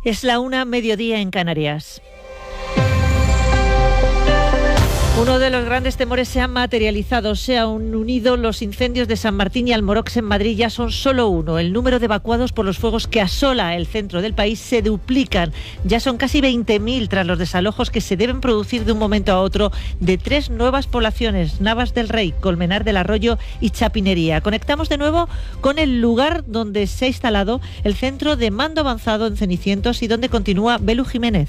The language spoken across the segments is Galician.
Es la 1:00, mediodía en Canarias. Uno de los grandes temores se ha materializado, se han unido los incendios de San Martín y Almorox en Madrid, ya son solo uno. El número de evacuados por los fuegos que asola el centro del país se duplican. Ya son casi 20.000 tras los desalojos que se deben producir de un momento a otro de 3 nuevas poblaciones, Navas del Rey, Colmenar del Arroyo y Chapinería. Conectamos de nuevo con el lugar donde se ha instalado el centro de mando avanzado en Cenicientos y donde continúa Belu Jiménez.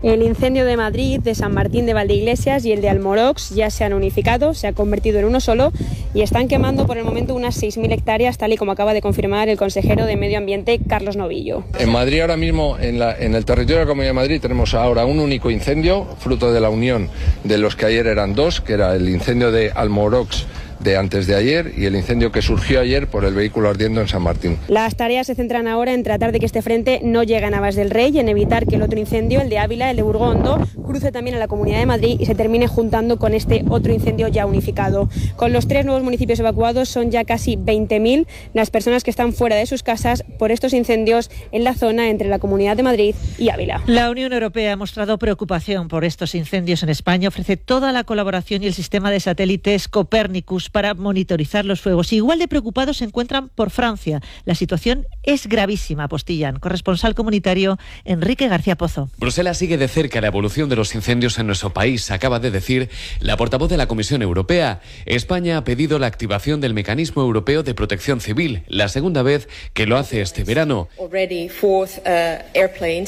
El incendio de Madrid, de San Martín de Valdeiglesias y el de Almorox ya se han unificado, se ha convertido en uno solo y están quemando por el momento unas 6.000 hectáreas, tal y como acaba de confirmar el consejero de Medio Ambiente, Carlos Novillo. En Madrid ahora mismo, en el territorio de la Comunidad de Madrid, tenemos ahora un único incendio, fruto de la unión de los que ayer eran 2, que era el incendio de Almorox de antes de ayer y el incendio que surgió ayer por el vehículo ardiendo en San Martín. Las tareas se centran ahora en tratar de que este frente no llegue a Navas del Rey y en evitar que el otro incendio, el de Ávila, el de Burgondo, cruce también a la Comunidad de Madrid y se termine juntando con este otro incendio ya unificado. Con los 3 nuevos municipios evacuados son ya casi 20.000 las personas que están fuera de sus casas por estos incendios en la zona entre la Comunidad de Madrid y Ávila. La Unión Europea ha mostrado preocupación por estos incendios en España, ofrece toda la colaboración y el sistema de satélites Copérnicus para monitorizar los fuegos. Igual de preocupados se encuentran por Francia. La situación es gravísima, apostillan. Corresponsal comunitario Enrique García Pozo. Bruselas sigue de cerca la evolución de los incendios en nuestro país, acaba de decir la portavoz de la Comisión Europea. España ha pedido la activación del Mecanismo Europeo de Protección Civil, la segunda vez que lo hace este verano.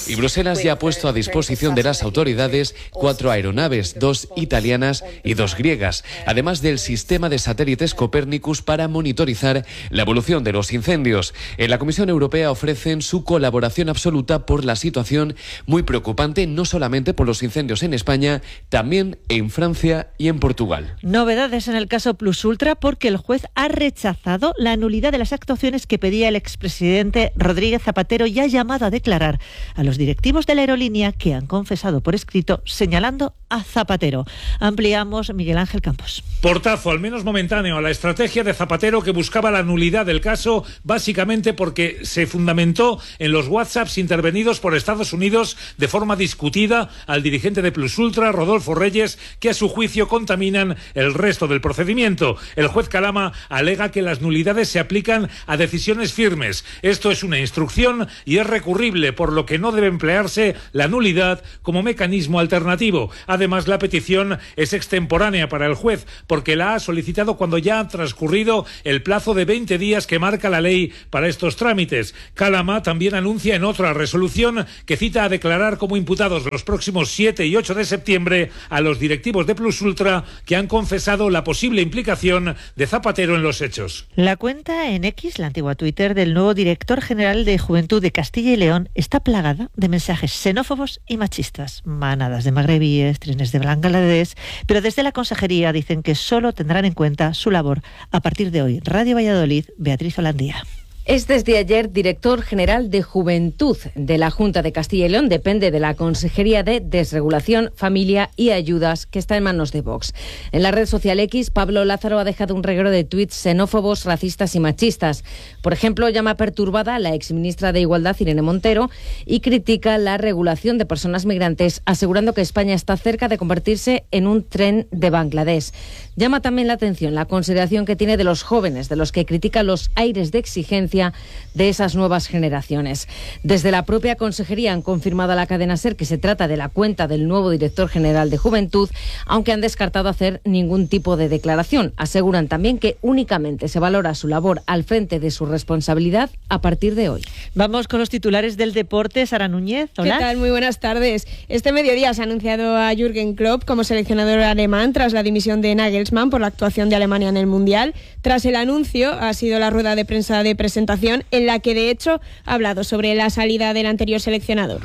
Y Bruselas ya ha puesto a disposición de las autoridades 4 aeronaves, 2 italianas y 2 griegas, además del sistema de satélites Copérnicus para monitorizar la evolución de los incendios. En la Comisión Europea ofrecen su colaboración absoluta por la situación muy preocupante, no solamente por los incendios en España, también en Francia y en Portugal. Novedades en el caso Plus Ultra porque el juez ha rechazado la nulidad de las actuaciones que pedía el expresidente Rodríguez Zapatero y ha llamado a declarar a los directivos de la aerolínea que han confesado por escrito señalando a Zapatero. Ampliamos, Miguel Ángel Campos. Portazo, al menos momentáneo, a la estrategia de Zapatero, que buscaba la nulidad del caso básicamente porque se fundamentó en los WhatsApps intervenidos por Estados Unidos de forma discutida al dirigente de Plus Ultra, Rodolfo Reyes, que a su juicio contaminan el resto del procedimiento. El juez Calama alega que las nulidades se aplican a decisiones firmes. Esto es una instrucción y es recurrible, por lo que no debe emplearse la nulidad como mecanismo alternativo. Además, la petición es extemporánea para el juez porque la ha solicitado cuando ya ha transcurrido el plazo de 20 días que marca la ley para estos trámites. Calama también anuncia en otra resolución que cita a declarar como imputados los próximos 7 y 8 de septiembre a los directivos de Plus Ultra que han confesado la posible implicación de Zapatero en los hechos. La cuenta en X, la antigua Twitter, del nuevo director general de Juventud de Castilla y León está plagada de mensajes xenófobos y machistas. Manadas de magrebíes, trenes de Bangladesh, pero desde la consejería dicen que solo tendrán en cuenta su labor a partir de hoy. Radio Valladolid, Beatriz Holandía. Es desde ayer director general de Juventud de la Junta de Castilla y León. Depende de la Consejería de Desregulación, Familia y Ayudas, que está en manos de Vox. En la red social X, Pablo Lázaro ha dejado un reguero de tuits xenófobos, racistas y machistas. Por ejemplo, llama perturbada a la exministra de Igualdad, Irene Montero, y critica la regulación de personas migrantes, asegurando que España está cerca de convertirse en un tren de Bangladesh. Llama también la atención la consideración que tiene de los jóvenes, de los que critica los aires de exigencia de esas nuevas generaciones. Desde la propia consejería han confirmado a la cadena SER que se trata de la cuenta del nuevo director general de Juventud, aunque han descartado hacer ningún tipo de declaración. Aseguran también que únicamente se valora su labor al frente de su responsabilidad a partir de hoy. Vamos con los titulares del deporte. Sara Núñez, hola. ¿Qué tal? Muy buenas tardes. Este mediodía se ha anunciado a Jürgen Klopp como seleccionador alemán tras la dimisión de Nagelsmann por la actuación de Alemania en el Mundial. Tras el anuncio ha sido la rueda de prensa de presentación en la que de hecho ha hablado sobre la salida del anterior seleccionador.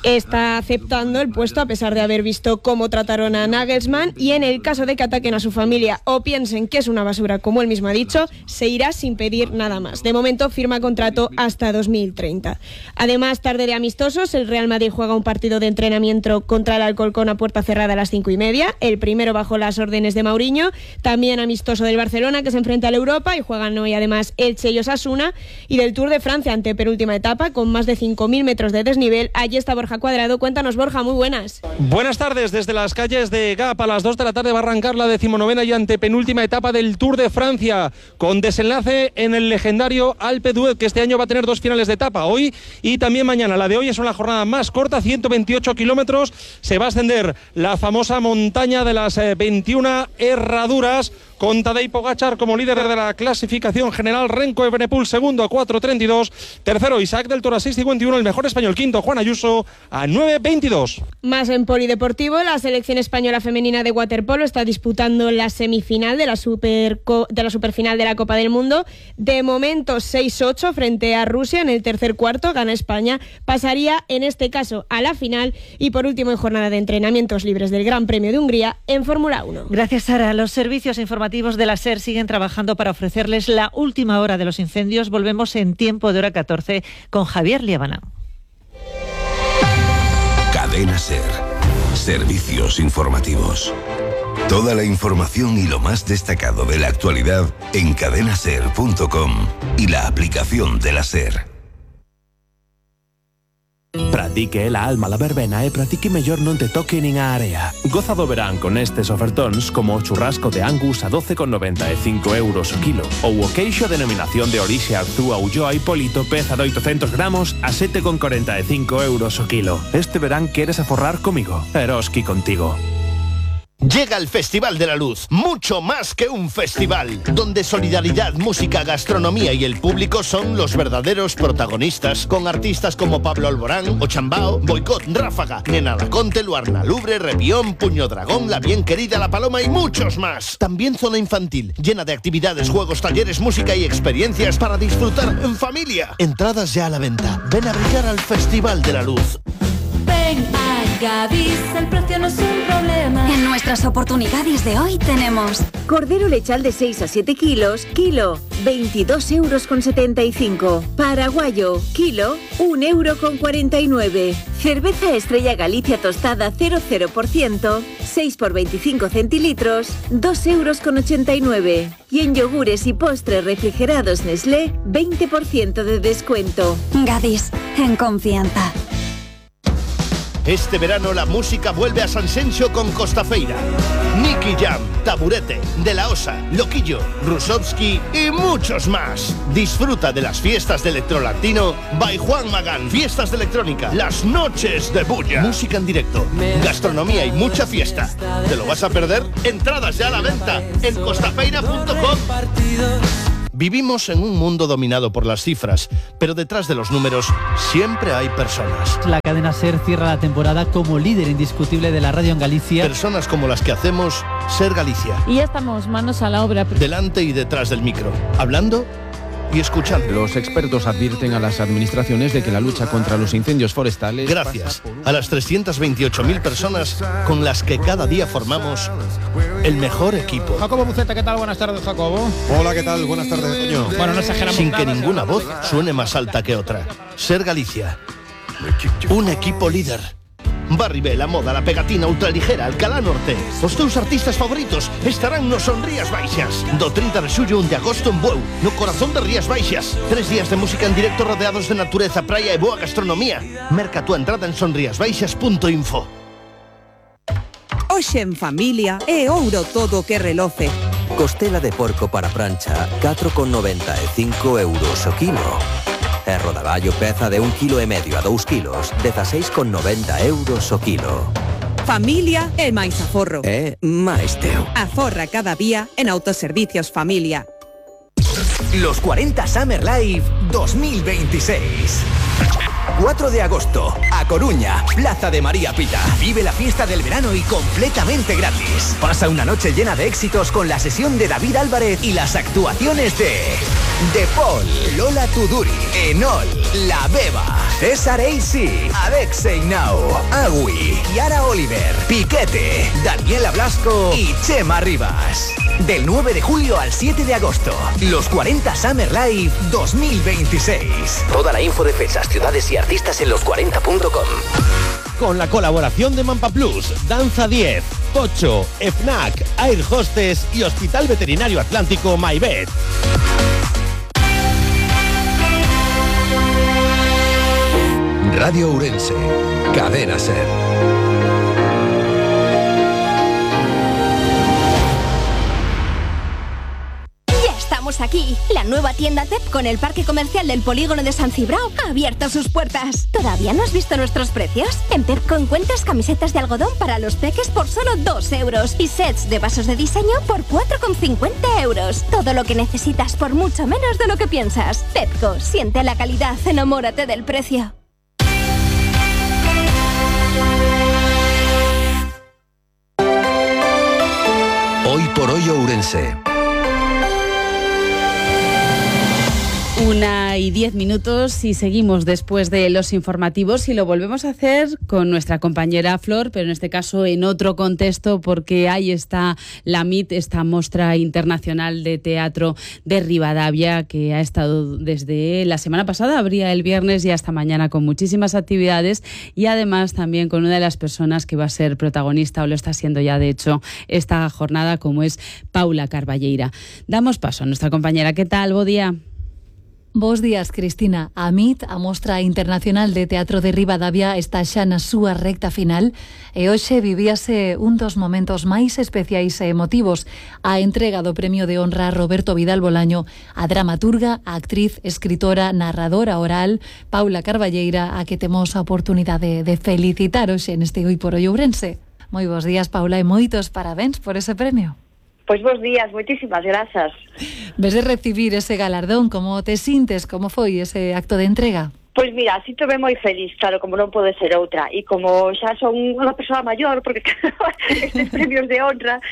está aceptando el puesto a pesar de haber visto cómo trataron a Nagelsmann, y en el caso de que ataquen a su familia o piensen que es una basura, como él mismo ha dicho, se irá sin pedir nada más. De momento firma contrato hasta 2030. Además, tarde de amistosos, el Real Madrid juega un partido de entrenamiento contra el Alcorcón a puerta cerrada a las 5:30, el primero bajo las órdenes de Mourinho. También amistoso del Barcelona, que se enfrenta al Europa, y juegan hoy además Elche y Osasuna, y del Tour de Francia, antepenúltima etapa, con más de 5.000 metros de desnivel. Allí está Borja Cuadrado. Cuéntanos, Borja, muy buenas. Buenas tardes. Desde las calles de Gap a las 2 de la tarde va a arrancar la 19ª y antepenúltima etapa del Tour de Francia, con desenlace en el legendario Alpe d'Huez, que este año va a tener 2 finales de etapa, hoy y también mañana. La de hoy es una jornada más corta, 128 kilómetros. Se va a ascender la famosa montaña de las 21 herraduras, con Tadej Pogačar como líder de la clasificación general, Remco Evenepoel segundo a 4.32, tercero Isaac del Toro a 6.51, el mejor español quinto Juan Ayuso a 9.22. Más en polideportivo, la selección española femenina de waterpolo está disputando la semifinal de la superfinal de la Copa del Mundo. De momento 6-8 frente a Rusia en el tercer cuarto, gana España, pasaría en este caso a la final. Y por último, en jornada de entrenamientos libres del Gran Premio de Hungría en Fórmula 1. Gracias, Sara. Los servicios informativos de la SER siguen trabajando para ofrecerles la última hora de los incendios. Volvemos en tiempo de hora 14 con Javier Liébana. Cadena SER. Servicios informativos. Toda la información y lo más destacado de la actualidad en cadenaser.com y la aplicación de la SER. Practique la alma la verbena e practique mellor non te toque nin a area. Goza do verán con estes ofertóns como o churrasco de Angus a 12,95 euros o kilo, ou o queixo denominación de orixe Arzúa Ulloa Hipólito peza de 800 gramos a 7,45 euros o kilo. Este verán queres aforrar comigo, Eroski contigo. Llega el Festival de la Luz, mucho más que un festival, donde solidaridad, música, gastronomía y el público son los verdaderos protagonistas, con artistas como Pablo Alborán, Ochambao, Boicot, Ráfaga, Nena Laconte, Luarna Lubre, Repión, Puño Dragón, La Bien Querida, La Paloma y muchos más. También zona infantil, llena de actividades, juegos, talleres, música y experiencias para disfrutar en familia. Entradas ya a la venta. Ven a brillar al Festival de la Luz. Ven a Gadis, el precio no es un problema. En nuestras oportunidades de hoy tenemos cordero lechal de 6 a 7 kilos, kilo, 22,75 €. Paraguayo, kilo, 1,49 €. Cerveza Estrella Galicia tostada 0,0%, 6 por 25 centilitros, 2,89 €. Y en yogures y postres refrigerados Nestlé, 20% de descuento. Gadis, en confianza. Este verano la música vuelve a Sanxenxo con Costafeira. Nicky Jam, Taburete, De La Osa, Loquillo, Rusovsky y muchos más. Disfruta de las fiestas de electrolatino by Juan Magán. Fiestas de electrónica, las noches de bulla. Música en directo, gastronomía y mucha fiesta. ¿Te lo vas a perder? Entradas ya a la venta en costafeira.com. Vivimos en un mundo dominado por las cifras, pero detrás de los números siempre hay personas. La cadena SER cierra la temporada como líder indiscutible de la radio en Galicia. Personas como las que hacemos SER Galicia. Y ya estamos manos a la obra. Delante y detrás del micro, hablando y escuchando. Los expertos advierten a las administraciones de que la lucha contra los incendios forestales... Gracias a las 328.000 personas con las que cada día formamos el mejor equipo. Jacobo Buceta, ¿qué tal? Buenas tardes, Jacobo. Hola, ¿qué tal? Buenas tardes, Toño. Bueno, no exageramos. Sin que ninguna voz suene más alta que otra. SER Galicia. Un equipo líder. Barribé, La Moda, La Pegatina, Ultraligera, Alcalá Norte. Os teus artistas favoritos estarán nos Son Rías Baixas. Do 30 de xullo 1 de agosto en Bueu, no corazón de Rías Baixas. 3 días de música en directo rodeados de natureza, praia e boa gastronomía. Merca tu entrada en sonriasbaixas.info. Hoxe en familia é ouro todo o que reloce. Costela de porco para prancha, 4,95 € o kilo. E rodaballo peza de 1,5 kg a 2 kilos, 16,90 € o kilo. Familia é máis aforro. É máis teu. Aforra cada día en Autoservicios Familia. Los 40 Summer Live 2026. 4 de agosto, A Coruña, Plaza de María Pita. Vive la fiesta del verano y completamente gratis. Pasa una noche llena de éxitos con la sesión de David Álvarez y las actuaciones de De Paul, Lola Tuduri, Enol, La Beba, César Eisi, Alexei Nau, Agui, Yara Oliver, Piquete, Daniela Blasco y Chema Rivas. Del 9 de julio al 7 de agosto, los 40 Summer Live 2026. Toda la info de fechas, ciudades y artistas en los40.com. Con la colaboración de Mampa Plus, Danza 10, Pocho, FNAC, Air Hostess y Hospital Veterinario Atlántico MyVet. Radio Ourense, Cadena SER. Aquí, la nueva tienda TEP con el parque comercial del polígono de San Cibrao ha abierto sus puertas. ¿Todavía no has visto nuestros precios? En Pepco encuentras camisetas de algodón para los peques por solo 2 euros y sets de vasos de diseño por 4,50 euros. Todo lo que necesitas por mucho menos de lo que piensas. Pepco, siente la calidad, enamórate del precio. Hoy por hoy Ourense. 1:10 y seguimos después de los informativos y lo volvemos a hacer con nuestra compañera Flor, pero en este caso en otro contexto porque ahí está la MIT, esta Mostra Internacional de Teatro de Rivadavia que ha estado desde la semana pasada, abría el viernes y hasta mañana con muchísimas actividades y además también con una de las personas que va a ser protagonista o lo está siendo ya de hecho esta jornada como es Paula Carballeira. Damos paso a nuestra compañera. ¿Qué tal? Bo día. Bos días, Cristina. A MIT, a Mostra Internacional de Teatro de Rivadavia, está xa na súa recta final e hoxe vivíase un dos momentos máis especiais e emotivos, a entrega do Premio de Honra a Roberto Vidal Bolaño, a dramaturga, a actriz, escritora, narradora oral, Paula Carballeira, a que temos a oportunidade de felicitar hoxe neste Hoy por Hoy Ourense. Moi bos días, Paula, e moitos parabéns por ese premio. Pois bos días, moitísimas grazas. Ves de recibir ese galardón, como te sintes, como foi ese acto de entrega? Pois mira, sinto-me moi feliz, claro, como non pode ser outra. E como xa son unha persoa maior, porque estes premios de honra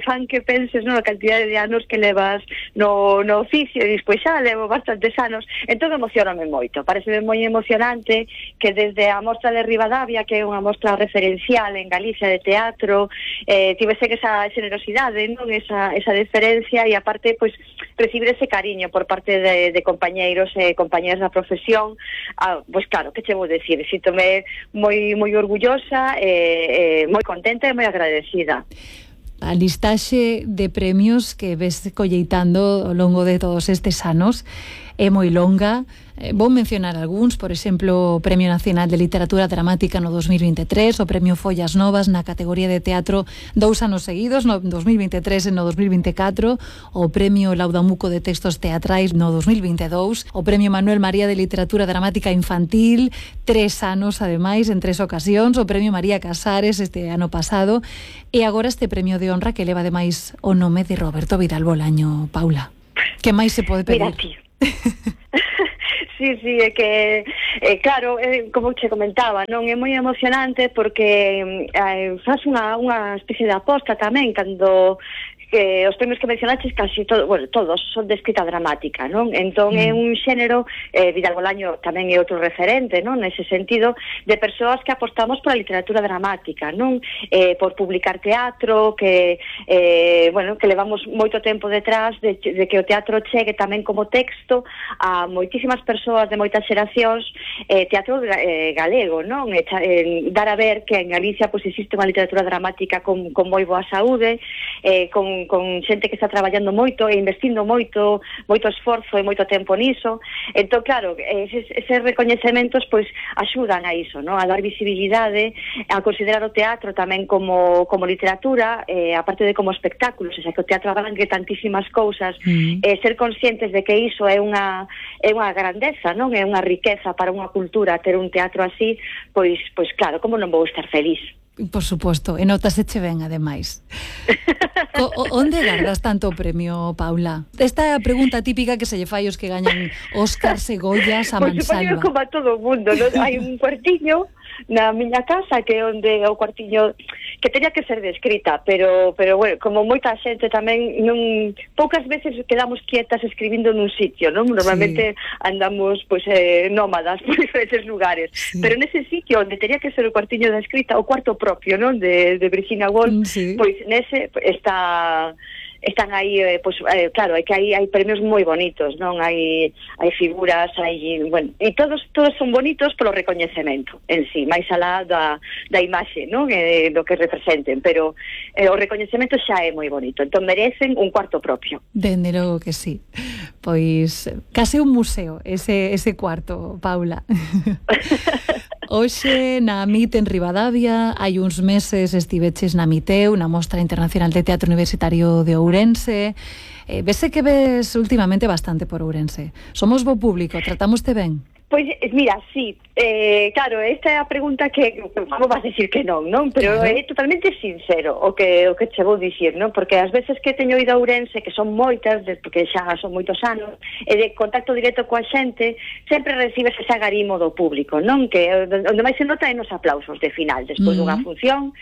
fan que penses a cantidade de anos que levas no oficio, e despois xa levo bastantes anos, entón emocioname moito. Pareceme moi emocionante que desde a Mostra de Rivadavia, que é unha mostra referencial en Galicia de teatro, tivese esa generosidade, non esa deferencia, e aparte, pois, recibir ese cariño por parte de compañeiros e compañeras da profesión. Pois claro, que che vou dicir, síntome moi orgullosa, moi contenta e moi agradecida. A listaxe de premios que ves colleitando ao longo de todos estes anos é moi longa. Vou mencionar algúns, por exemplo, o Premio Nacional de Literatura Dramática no 2023, o Premio Follas Novas na categoría de teatro 2 anos seguidos, no 2023 e no 2024, o Premio Laudamuco de Textos Teatrais no 2022, o Premio Manuel María de Literatura Dramática Infantil, 3 anos ademais, en 3 ocasións, o Premio María Casares este ano pasado, e agora este Premio de Honra que leva ademais o nome de Roberto Vidal Bolaño. Paula, que máis se pode pedir? Mira, tío. Sí, é que, claro, como che comentaba, non é moi emocionante porque faz unha especie de aposta tamén cando que os premios que mencionaches casi todos son de escrita dramática, non? Entón é un xénero, Vidal Bolaño tamén é outro referente, non? Nese sentido, de persoas que apostamos pola literatura dramática, non? Por publicar teatro, que levamos moito tempo detrás de que o teatro chegue tamén como texto a moitísimas persoas de moitas xeracións, teatro galego, non? Dar a ver que en Galicia pois existe unha literatura dramática con moi boa saúde, con xente que está traballando moito e investindo moito esforzo e moito tempo niso. Entón, claro, eses recoñecementos pois axudan a iso, non? A dar visibilidade, a considerar o teatro tamén como literatura, aparte de como espectáculo, o sea, que o teatro abrangue tantísimas cousas, ser conscientes de que iso é unha grandeza, non? É unha riqueza para unha cultura ter un teatro así, pois claro, como non vou estar feliz? Por suposto, e notas eche ben, ademais. Onde gardas tanto premio, Paula? Esta é a pregunta típica que se lle fai os que gañan Óscar, Segoyas, a mansalva. Pois supoño como a todo o mundo, non? Hai un cuartiño na miña casa, que é onde o cuartiño que teria que ser de escrita, pero bueno, como moita xente tamén poucas veces quedamos quietas escribindo nun sitio, non? Normalmente andamos pois nómadas por diferentes lugares, pero nese sitio onde teria que ser o cuartiño de escrita, o cuarto propio, non? De Virginia Woolf, pois nese están aí, claro, é que hai premios moi bonitos, non? Hai figuras, bueno, e todos son bonitos polo recoñecemento en sí, máis alá da imaxe, non? Do que representen, pero o recoñecemento xa é moi bonito, entón merecen un cuarto propio. Dende logo que sí. Pois case un museo ese cuarto, Paula. Hoxe na MIT en Ribadavia, hai uns meses estiveches na MITEU, na Mostra Internacional de Teatro Universitario de Ourense. Vese que ves últimamente bastante por Ourense. Somos bo público, tratámoste ben? Pois, mira, sí, claro, esta é a pregunta que como vas dicir que non? Pero é totalmente sincero o que che vou dicir, non? Porque as veces que teño ido a Ourense, que son moitas, porque xa son moitos anos, e de contacto directo coa xente, sempre recibes ese agarimo do público, non? Que onde máis se nota é nos aplausos de final, despois dunha función,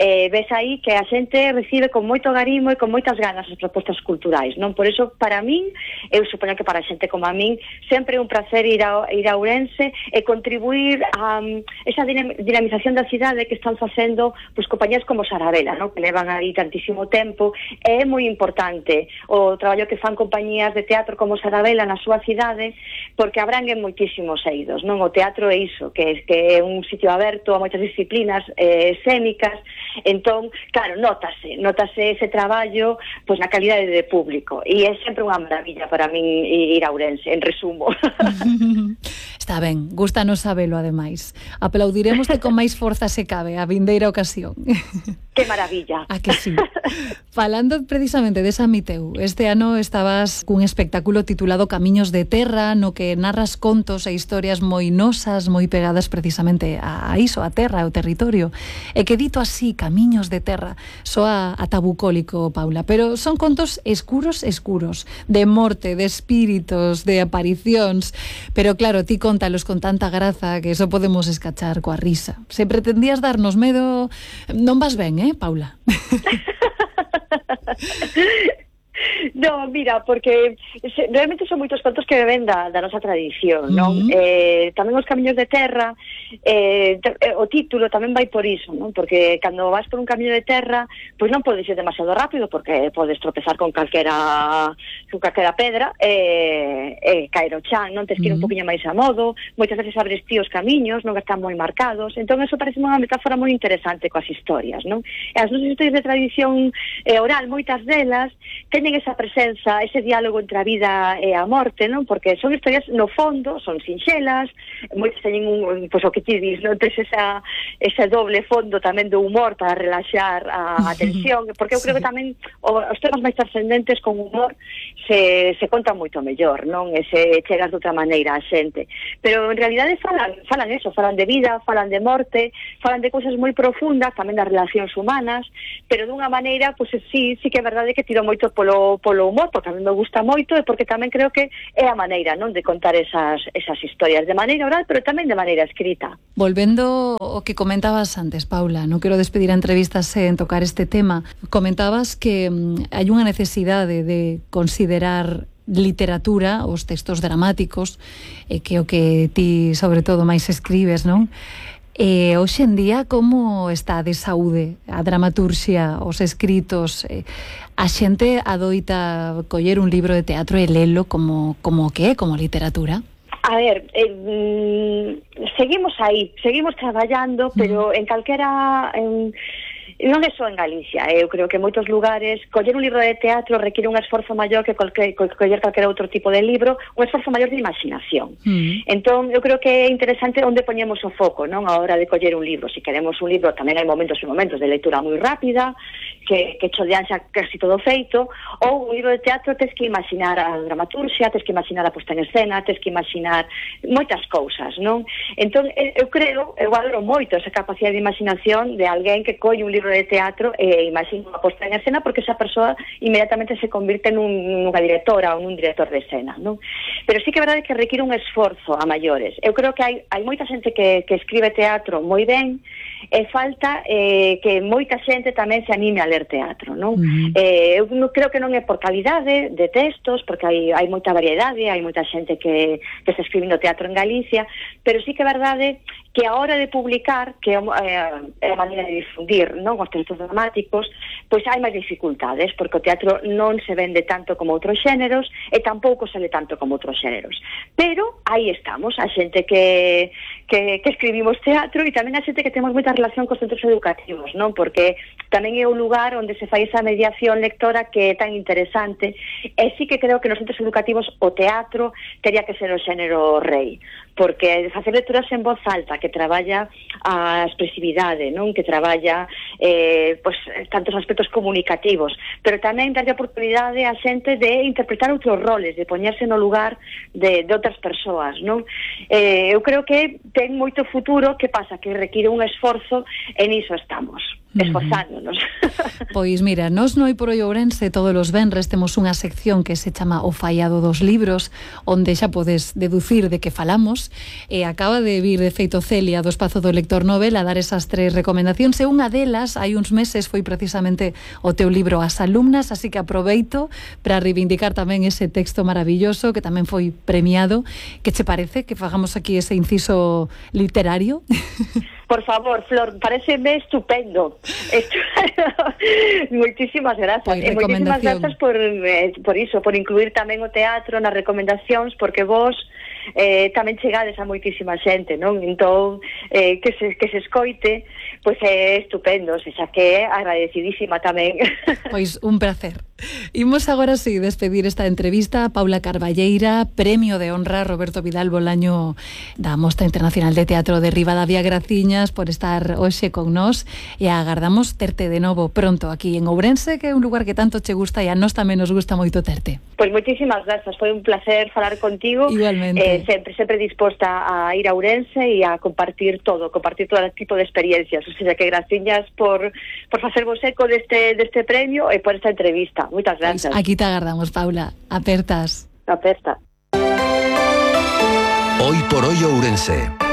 ves aí que a xente recibe con moito agarimo e con moitas ganas as propostas culturais, non? Por iso, para min, eu supoño que para a xente como a min, sempre é un placer ir a Ourense e contribuir a esa dinamización da cidade que están facendo pois compañías como Sarabela, non? Que levan aí tantísimo tempo. É moi importante o traballo que fan compañías de teatro como Sarabela na súa cidade, porque abranguen moitísimos eidos, non? O teatro é iso, que é un sitio aberto a moitas disciplinas escénicas. Entón, claro, notase ese traballo pois na calidade de público, e é sempre unha maravilla para min ir a Ourense, en resumo. Está ben, gústanos sabelo ademais. Aplaudiremos con máis forza se cabe a vindeira ocasión. Que maravilla. A que sí. Falando precisamente desa MITEU, este ano estabas cun espectáculo titulado Camiños de Terra, no que narras contos e historias moi nosas, moi pegadas precisamente a iso, a terra, ao territorio. E que dito así, Camiños de Terra, soa ata bucólico, Paula, pero son contos escuros, de morte, de espíritos, de aparicións, pero claro, ti contalos con tanta graza que eso podemos escachar coa risa. Se pretendías darnos medo, non vas ben, Paula? No, mira, porque realmente son moitos contos que ven da nosa tradición, non? Tamén os Camiños de Terra, o título tamén vai por iso, non? Porque cando vas por un camiño de terra, pois non podes ir demasiado rápido, porque podes tropezar con calquera pedra e caer ao chan, non? Tens que ir un poquinho máis a modo, moitas veces abres ti os camiños, non están moi marcados, entón eso parece unha metáfora moi interesante coas historias, non? E as nosas historias de tradición oral, moitas delas teñen esa presenza, ese diálogo entre a vida e a morte, non? Porque son historias, no fondo, son sinxelas, moitas teñen pois o que ti dis, non? Tes ese doble fondo tamén do humor para relaxar a tensión, porque eu creo que tamén os temas máis trascendentes con humor se contan moito mellor, non? E se chegas de outra maneira a xente. Pero en realidade falan eso, falan de vida, falan de morte, falan de cousas moi profundas, tamén das relacións humanas, pero dunha maneira, pois sí que é verdade que tiro moito polo humor, porque a mí me gusta moito e porque tamén creo que é a maneira, non, de contar esas historias de maneira oral, pero tamén de maneira escrita. Volvendo ao que comentabas antes, Paula, non quero despedir a entrevista sen tocar este tema. Comentabas que hai unha necesidade de considerar literatura, os textos dramáticos, que é o que ti sobre todo máis escribes, non? E hoxe en día, como está de saúde a dramaturxia, os escritos? A xente adoita coller un libro de teatro e lelo como que é, como literatura? A ver, seguimos aí, seguimos traballando, pero en calquera... non é só en Galicia, eu creo que en moitos lugares coller un libro de teatro requiere un esforzo maior que coller calquera outro tipo de libro, un esforzo maior de imaginación. Entón, eu creo que é interesante onde poñemos o foco, non, a hora de coller un libro. Se queremos un libro, tamén hai momentos e momentos de lectura moi rápida, que chodean xa casi todo feito, ou un libro de teatro tes que imaginar a dramaturxia, tes que imaginar a posta en escena, tes que imaginar moitas cousas, non? Entón, eu valoro moito esa capacidade de imaginación de alguén que colle un libro obra de teatro e imagino a posta en escena, porque esa persoa inmediatamente se convirte nunha directora ou nun director de escena, non? Pero sí que é verdade que require un esforzo a maiores. Eu creo que hai moita xente que escribe teatro moi ben, e falta que moita xente tamén se anime a ler teatro, non? Eu creo que non é por calidade de textos, porque hai moita variedade, hai moita xente que está escribindo teatro en Galicia, pero sí que é verdade que a hora de publicar, que é a maneira de difundir, non, os textos dramáticos, pois hai máis dificultades, porque o teatro non se vende tanto como outros xéneros e tampouco se le tanto como outros xéneros. Pero aí estamos, a xente que escribimos teatro e tamén a xente que temos moita relación cos centros educativos, non? Porque tamén é un lugar onde se fai esa mediación lectora que é tan interesante, e sí que creo que nos centros educativos o teatro teria que ser o xénero rei, porque facer lecturas en voz alta, que traballa a expresividade, non? Que traballa pois tantos aspectos comunicativos, pero tamén darlle a oportunidade a xente de interpretar outros roles, de poñerse no lugar de outras persoas, non? Eu creo que ten moito futuro. Que pasa? Que require un esforzo, e niso estamos, esforzándonos. Pois mira, nos no Hai por Oi Ourense todos os venres temos unha sección que se chama O Fallado dos Libros, onde xa podes deducir de que falamos, e acaba de vir de feito Celia do Espazo do Lector Novel a dar esas 3 recomendacións, e unha delas hai uns meses foi precisamente o teu libro As Alumnas, así que aproveito para reivindicar tamén ese texto maravilloso que tamén foi premiado. Que che parece que fagamos aquí ese inciso literario? Por favor, Flor, pareceme estupendo. Moitísimas grazas. Moitísimas grazas por iso, por incluir tamén o teatro nas recomendacións, porque vos tamén chegades a moitísima xente, non? Entón, que se escoite, pois é estupendo, xa que é agradecidísima tamén. Pois un placer. Imos agora si despedir esta entrevista. Paula Carballeira, Premio de Honra Roberto Vidal Bolaño da Mostra Internacional de Teatro de Ribadavia, graciñas por estar hoxe con nós, e agardamos terte de novo pronto aquí en Ourense, que é un lugar que tanto che gusta e a nós tamén nos gusta moito terte. Pois moitísimas grazas, foi un placer falar contigo. Igualmente. Sempre disposta a ir a Ourense e a compartir todo tipo de experiencias. O sea, que graciñas por facervos eco deste premio e por esta entrevista. Moitas grazas. Aquí te agardamos, Paula. Apertas. Aperta. Hoy por Hoy Ourense.